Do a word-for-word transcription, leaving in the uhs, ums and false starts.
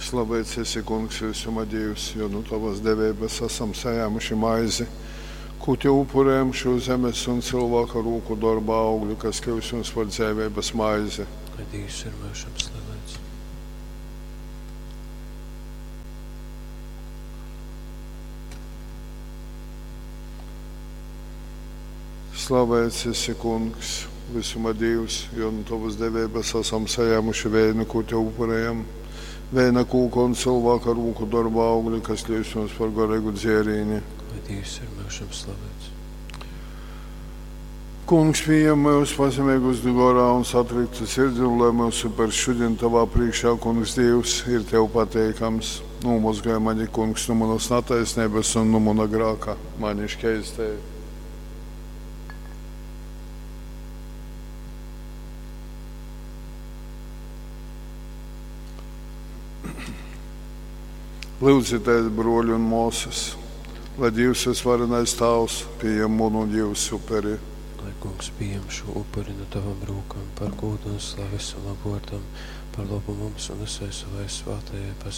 Slavēts esi, Kungs, visuma Dīvs, jo nu tavas deveibas asam sajēmuši maizi, kū tev upurējam šo zemes un cilvēka rūku dorba augļu, kas kļūs mums par dzeiveibas maizi. Lai Dīvs ir myužam slavēts. Slavēts esi, Kungs, visuma Dīvs, jo nu tavas deveibas asam sajēmuši veinu, ko tev upurējam. Veina kūka un cilvēka rūku darba augļi, kas kļūs mums par garīgu dzērīni. Lai Dīvs ir myužam slavēts. Kungs, pieņem mūs pazemīgus gorā un satriktu sirdi, un lai mūsu par šodien tavā priekšā, Kungs, Dievs, ir tev pateikams. Nomazgāj mani, Kungs, no manas netaisnības un no mana grāka, mani šķeistēji. Lūdzieties, broļi un māsas, lai Dievs visvarenais Tēvs pieņem manu un jūsu uperi. Lai Kungs pieņem šo upuri no tavām rokām par godu un slavi savam vārdam, par labu mums un visai savai svētajai baznīcai.